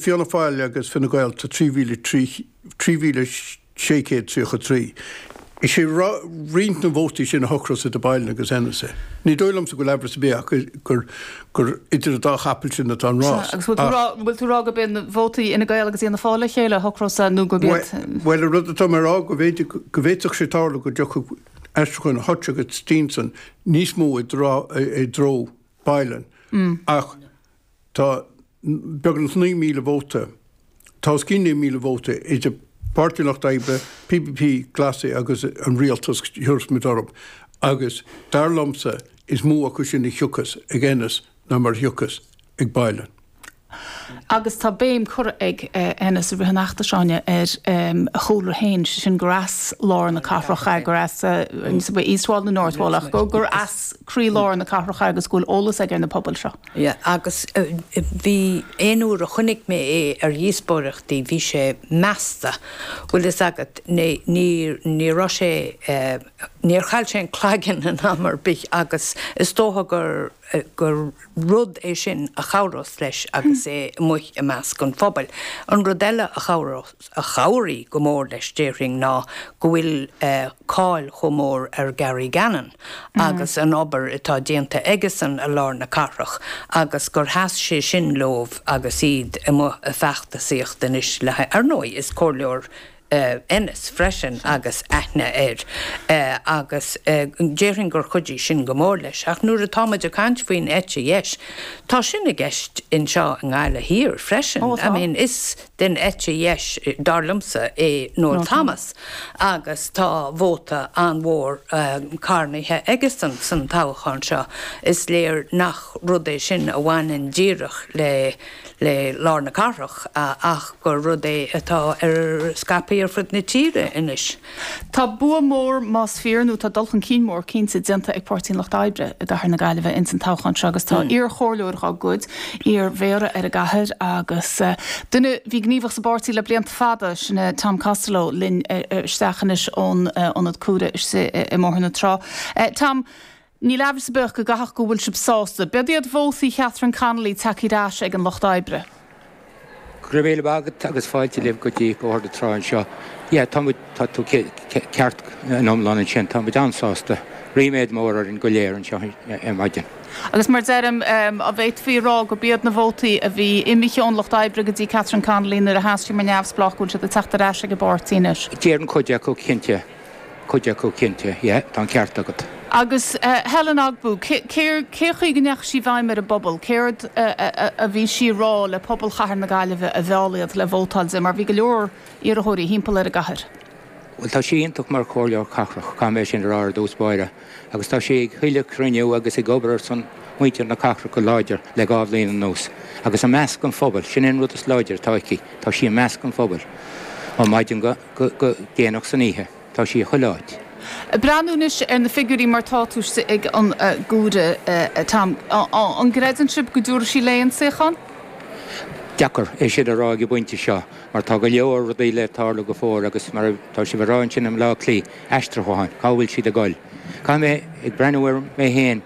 Fianna Fáil agus Fine Gael tá 3,633. Is é roinnt na vótaí sin a shocrós idir Boylan agus Ennis é. Ní dóigh liomsa go bhfuil aimhreas ar bith ach gur gur idir an dá chapall sin atá an rás. Agus bhfuil tú ag rá gurb iad na vótaí Fhine Gael agus Fhianna Fáil le chéile a shocrós é nó gurb iad. Bhuel, an rud atá mé a rá go bhféidir go bhféadfadh sé tarlú go dtiocfadh aistriúcháin Hutch agus Steenson níos mó i dtreo Boylan ach Tá beagnach 9,000 vóta, tá os cionn 9,000 vóta idir Páirtí an Lucht Oibre, PPP, Glasaigh agus an Rialtas, thiúrfas muid orthu, agus dar liomsa is mó acu sin a thiocfas ag Ennis ná mar a thiocfas ag Boylan. Agus tá béim curtha ag Ennis i rith an fheachtais, Áine, ar a chúlra féin, sé sin gur as lár na cathrach é, gur as East Wall nó North Wall ach gur as croí-lár na cathrach é agus go bhfuil eolas aige ar na pobail seo. Yeah, agus bhí, aon uair a chonaic mé é ar dhíospóireachtaí, bhí sé measta, bhfuil fhios agat, ní, ní, ní raibh sé, níor chaill sé an cloigeann in am ar bith agus is dócha gur, gur rud é sin a chabhrós leis agus é amuigh i measc an phobail. An rud eile a chabhrós, a chabhraigh go mór leis, déarfainn, ná go bhfuil cáil chomh mór ar Gary Gannon agus an obair atá déanta aigesan i lár na cathrach agus gur sheas sé sin leo agus iad amuigh ag feachtasaíocht anois le haghaidh, ar ndóigh, is comhairleoir Ennis freisin agus aithne air agus déarfainn gur chuidigh sin go mór leis. Ach nuair atá muid ag caint faoin eite dheis, tá sin i gceist anseo i nGaillimh Thiar freisin. I mean, is den eite dheis, dar liomsa, é Noel Thomas agus tá vóta an-mhór carnaithe aigesan san toghchán seo. Is léir nach rud é sin a bhaineann díreach le le lár na cathrach ach gur rud é atá ar scaipthe ar fud na tíre anois. Tá bua mór, más fíor, nó tá dul chun cinn mór, cinnte, déanta ag Páirtí an Lucht Oibre i gcathair na Gaillimhe ins an toghchán seo agus tá iar-chomhairleoir dhá gcuid, iar-mhéara ar an gcathair agus duine a bhí gníomhach sa bpáirtí le blianta fada, sin é Tom Costello, linn isteach anois ón Ionad Cuaire istigh i mBóthar na Trá. Tom, níl aimhreas ar bith ach go gcaithfeadh go bhfuil sibh sásta. B'iod iad vótaí Catherine Connolly tagtha ar ais ag an Lucht Oibre. Go raibh míle maith agat agus fáilte libh go dtí Bóthar na Trá anseo. Yeah, tá muid, tá tú ceart in iomlán ansin, tá muid an-sásta. Ríméad mór orainn go léir anseo ar maidin. Agus mar deirim, an bhféadfaí a rá gurb iad na vótaí a bhí imithe ón Lucht Oibre go dtí Catherine Connolly nuair a sheas sí mar neamhspleách go bhfuil siad ag teacht ar ais ag an bpáirtí anois? Déarfainn cuid acu, cinnte. Cuid acu cinnte, yeah, tá an ceart agat. Agus Helen Ogbu, cé chaoi go ndeachaigh sí i bhfeidhm ar an bpobal? Céard a bhí sí a rá le pobal chathair na Gaillimhe a mheall iad le vótáil di, mar bhí go leor iarrthóirí thimpeall ar an gcathair? Bhuel, tá sí iontach mar chomhairleoir cathrach, caithfidh mé sin a rá ar dtús báire, agus tá sí ag chuile chruinniú agus ag obair ar son muintir na cathrach go láidir le dhá bhliain anuas. Agus i measc an phobail, sin é an rud is láidre atá aici, tá sí i measc an phobail ó mhaidin go. go déanach san oíche. Tá sí chuile áit. Ag breathnú anois ar na figiúirí mar tá tú istigh ag an gCuaire, Tom, an gcreideann sibh go dtabharfaidh sí léi an suíochán? Deacair é sin a rá ag an bpointe seo mar tá go leor rudaí le tarlú go fóill agus mar atá sibh a rá ansin i mBleá Cliath, aistriúcháin, cá bhfuil siad ag dul? Caithfidh mé, ag breathnú air mé féin,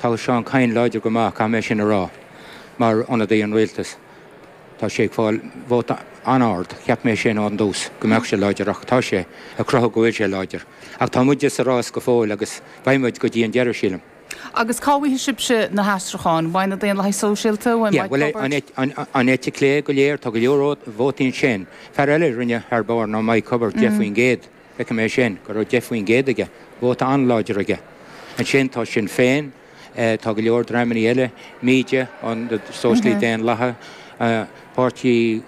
tá Seán Kyne láidir go maith, caithfidh mé sin a rá, mar ionadaí an rialtais. Tá sé ag fáil vóta an-ard. Cheap mé sin ón dtús, go mbeadh sé láidir ach tá sé ag cruthú go bhfuil sé láidir. Ach tá muide sa rás go fóill agus beidh muid go dtí an deireadh, sílim. Agus cá bhfaighidh sibhse na haistriúcháin? Uaidh na Daonlathaigh Sóisialta? Uaidh Yeah, Mike bhuel, Hubbard? an eite chlé go léir, tá go leor vótaí ansin. Fear eile a rinne thar barr ná Mike Hubbard, 10%. Feicim é sin, go raibh 10% aige, vóta an-láidir aige. Ansin tá Sinn Féin. Tá go leor dreamanna eile, MíDe, an Sóisialaí Daonlathaithe, páirtí,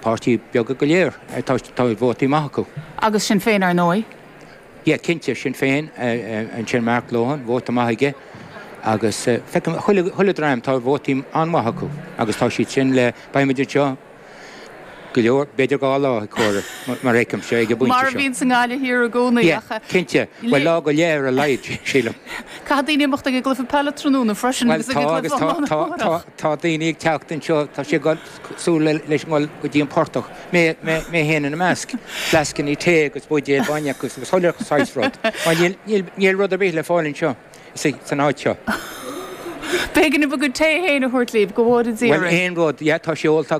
páirtí beaga go léir, tá vótaí maith acu. Agus Sinn Féin, ar ndóigh. Yeah, cinnte, Sinn Féin, ansin Mark Lohan, vóta maith aige agus feicim chuile, chuile dream, tá vótaí an-mhaith acu agus tá siad sin le, beidh muid anseo, go leor, b'fhéidir 2 lá ag comhaireamh, mar a fheicimse ag an bpointe seo. Mar a bhíonn sa nGaillimh Thiar i gcónaí, Yeah, ach. cinnte. Bhuel, lá go leith ar a laghad, sílim. Caithfidh daoine imeacht ag an gcluiche peile tráthnóna freisin Bhuel, agus ag tá an agus gcluiche tá, iomána tá, tá, amárach. tá daoine ag teacht anseo, tá siad ag cosúil le, leis an ngol go dtí an portach, mé, mé, mé féin ina measc. Fleascannaí tae agus buidéil bainne agus chuile saghas rud. Mar níl, níl, níl rud ar bith le fáil anseo. san áit seo. B'éigean dom bhur gcuid tae féin a thabhairt libh, go bhfóire Dia Bhuel, oraibh. aon rud, yeah, tá sé ólta agam.